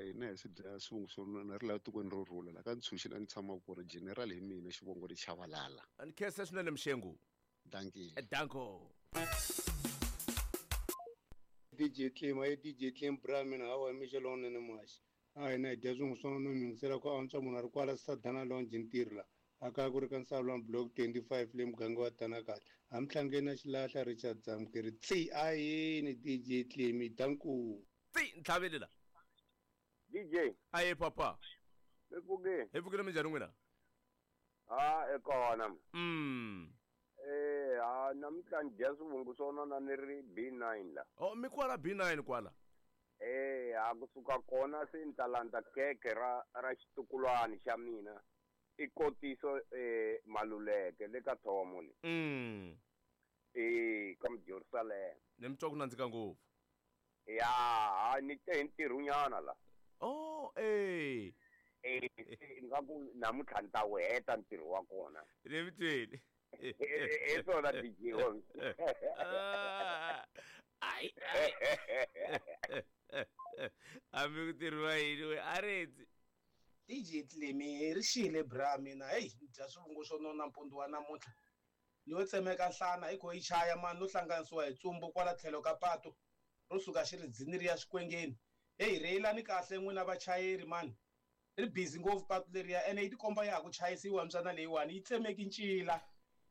Hina hi swi dya swivongo swo nona ri laha tikweni ro rhula la ka ntshunxi la ni tshamaka kona general hi mina xivongo ri Chavalala. Ni khensa swinene Mshengu. Dankie. Danko. DJ Clem, aye DJ Clem bra mina hawa mixo lowunene muhaxi. A hina hi dya swin'we swo no yingisela ku antswa munhu a ri kwala Sadana Lounge ntirho la. A kaya ku ri ka Nsavulani block 25 le muganga wa Tanakala. A mhlangeni na xilahla Richard Zamukeri. Tsi ayini DJ Clem danku. Tsi ntlhaveli la. DJ. Aye papa. Mi pfukile? Hi pfukile minjhani n'wina? Ha e kona. Eh ha namuntlha ni dya swivungu swo nona ni ri B9 la. Oh mi kwala B9 kwala. Eh ha kusuka kona se ni ta landza khekhe ra ra xitukulwani xa mina. I kotiso Maluleke le ka Thomo le. Eh ka Jerusalem. Ni mi twa ku nandzika ngopfu. Ya ha ni te hi ntirhonyana la. Oh eh. Eh nga ku namuntlha ni ta wu heta ntirho wa kona. Ni mi tweli. Hi swona DJ Holmes. Ai ai. Hambi ku tirhiwa yini we a rendzi. DJ Clemi ri xile bra mina hey ni dya swivungu swo nona mpundzu wa namuntlha ni yo tsemeka nhlana hi kho yi chaya mani no hlanganisiwa hi tsumbu kwala tlhelo ka patu ro suka xiridzini ri ya swikwengeni heyi rheyilani kahle n'wina vachayeri mani ri busy ngopfu patu leriya ene yi tikomba ya ha ku chayisiwa mbyana leyiwani yi tsemeki ncila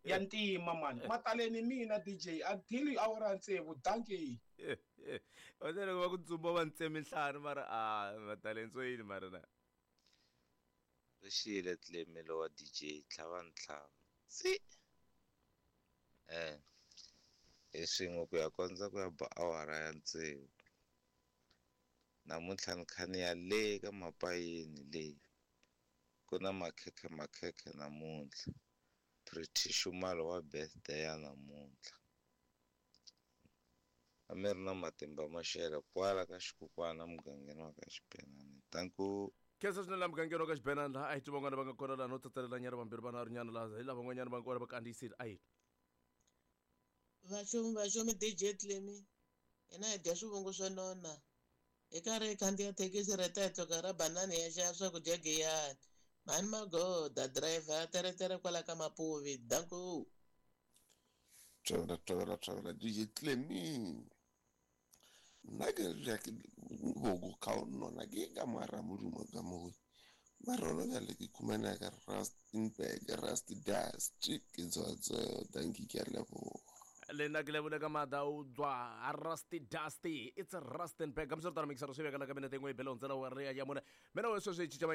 ya ntima mani mataleni mina DJ until awara ya tsevu dankie. Va loko va ku tsumba va ntsemi nhlana mara a mataleni swo yini mara na. Ri xile Clemi wa DJ tlhava ntlhava tsi hi swin'we ku ya kondza ku ya ba awara ya tsevu namuntlha ni kha ni ya le ka mapayeni leyi ku na makhekhe makhekhe namuntlha Pretty Xumalo wa birthday ya namuntlha a mi ri na matimba maxela kwala ka xikukwana mugangeni wa ka Xibenani tanku. Khensa swinene laha mugangeni wa ka Xibenani laha a hi tiva van'wana va nga kona laha no tsatselela nyana vambirhi vanharhu nyana laha hi lava van'wanyana va nga kona va kandziyisile a hi Vaxomi vaxomi DJ Clemi hina hi dya swivungu swo nona hi karhi hi khandziya thekisi reta hi tluka ra banani hi ya xava swakudya Giyani mhani magoda driver teretere kwala ka Mapuvi danku. Tshovela tshovela tshovela DJ Clemi nna ke re ke bogo ka nona ke ka mara modumo ka mo mara ona bjale ke khumana ka Rustenburg Rust Dust ke tswa dankie ke a leboga. Le nna ke leboga ka maatla o tswa Rusty Dusty it's a Rustenburg ka msoro mixero swi vekela ka minete yin'we yi bele hundzela wa ri ya mune mina we sweswi hi cinca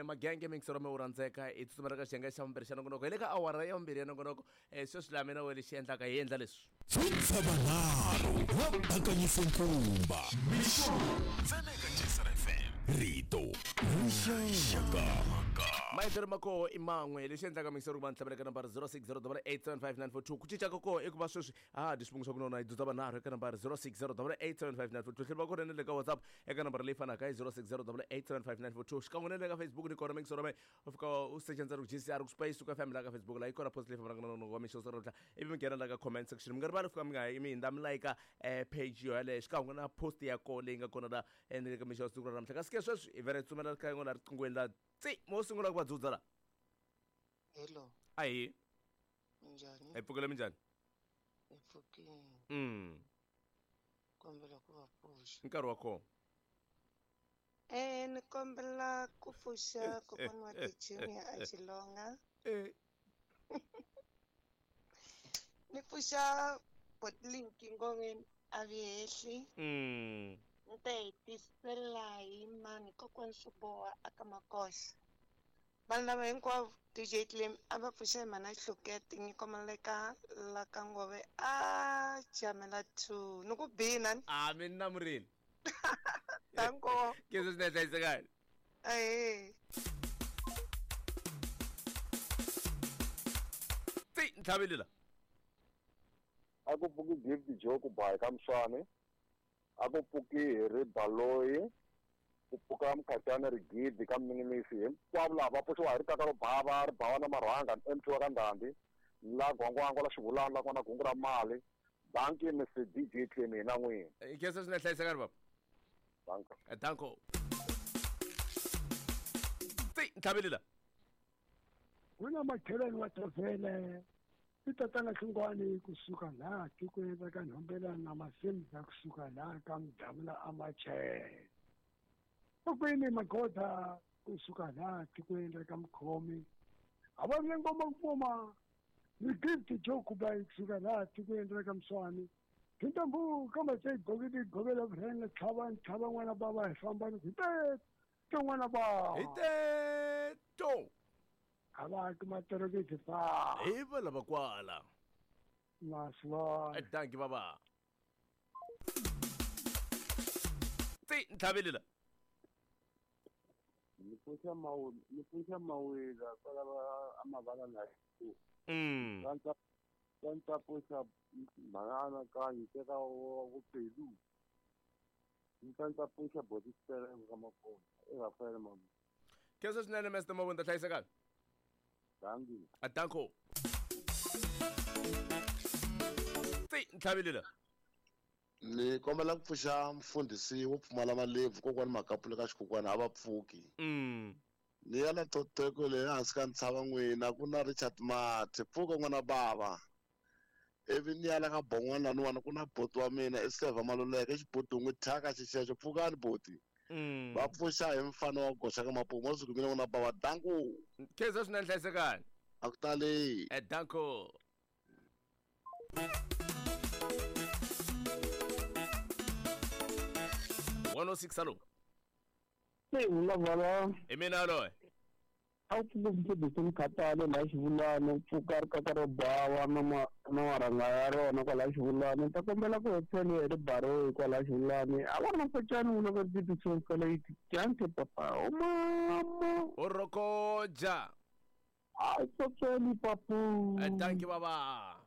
magenge mixero mi wu rhandzeka hi tsutsumela ka xiyenge xa vumbirhi xa nongonoko hi le ka awara ya vumbirhi ya nongonoko sweswi laha mina we lexi endlaka hi endla leswi. Pfutsavanharhu wa Bakanyise Nkumba Mixo ntsena eka JSR FM Rito Rixaka. Maendlelo ma koho i man'we lexi endlaka mixero ku va ni tlhavela ka nambara 0608875942 ku cinca ka koho i ku va sweswi a ha dyi swivungu swa ku nona hi dzudza vanharhu eka nambara 0608875942 tlhela va kona na le ka WhatsApp eka nambara leyi fanaka hi 0608875942 xikan'we na le ka Facebook ni kona mixero me u fika u secha ntsena ku JCR ku space ku FM la ka Facebook la yi kona post leyi fambelaka na nongonoko wa mixo namuntlha ivi mi nghena la ka comment section mi nga rivali fika mi nga mi hindza mi like page yo yaleyo xikan'we na post ya koho leyi nga kona la ni le ka mixo ya siku ra namuntlha kasi ke sweswi hi vhele hi tsumela ka yin'wana riqinghweni la tsi mo sungula ku va dzudza la. Hello. Ahi. Minjhani? Hi pfukile minjhani? Hi pfukile. Kombela ku va pfuxa. Nkarhi wa kona. Ni kombela ku pfuxa kokwana wa Junior a Xilonga. Ni pfuxa Botlinki Ngongeni a Vihehli. Ni ta hetisela hi mani kokwana Swiboha aka Makosa. Vanhu lava hinkwavo DJ Clem a va pfuxa hi mhana Hlukete nyiko maleka la ka Ngove a jamela 2 ni ku bina ni. A mi namurile. Danko. Ke se swi hlayisekani. Ahee. Tsi ntlhaveli la. A ku pfuki Gift Joe ku ba ka Mswane. A ku pfuki Harry Baloyi. Ku pfuka Mkhatshana Rigidi ka Minimisi hinkwavo lava va pfuxiwa hi ritaka ro bava ri bawa na marhanga MT wa ka Ndhambi la Gwangwangwa la Xivulana la kona gungu ra mali banki Mr DJ Clemi na n'wina. Khensa swinene hlayisekani baba. Danko. Danko. Ti ntlhavelela. Ku na makhelwani wa Thovhele i tatana Hlungwani kusuka laha tikweni ra ka Nhombelani na Masimba kusuka laha ka Mdavula Amachele. Kokwini Magoda kusuka laha tikweni ra ka Mkhomi. A va ri ngoma kupfuma ni gift jo kuba kusuka laha tikweni ra ka Mswani. Tintambu ka matse gobidi gobela vurhenga tlhava tlhava n'wana bava hi famba ni hi te n'wana bava. Hi teto. A va ki matorokisi fa. Hi va lava kwala. Masivona. Danki baba. Ti ntlhavelela. Ni pfuxa mawu ni pfuxa mawila kwala va amavala na Kantsa kantsa pfuxa mhana kanyi teka wa ku pelu. Ni kantsa pfuxa boti sipela ka makona. E Rafael Mamu. Khensa swinene Mr Mabunda hlayisekani. Danki. A danko. Ti ntlhavelela. Ni kombela ku pfuxa mfundhisi wo pfumala malebvu kokwani Makapula ka xikukwana a va pfuki. Ni ya la Toteko le hansi ka ntshava n'wina ku na Richard Mathe pfuka n'wana bava. Ivi ni ya la ka Bon'wana laniwani ku na boti wa mina i Seva Maluleke xiboti n'wi thyaka xixexo pfukani boti. Va pfuxa hi mfana wa goxa ka mapumu wa suku mina n'wana bava danku. Khensa swinene hlayisekani. A ku tali. Danko. 106 alo. Se vulavula. Hi mina loyi. A wu pfuka mfundhisi Mkhatale laha Xivulani u pfuka ri kaka ro bawa na ma na marhanga ya rona kwalaha Xivulani ni ta kombela ku hotseliwa hi ribaroyi kwalaha Xivulani a va ri na mpacani wu loko ti tisokaleiti jante papa o mama O rokoja. a tsotsweni papu Danki baba.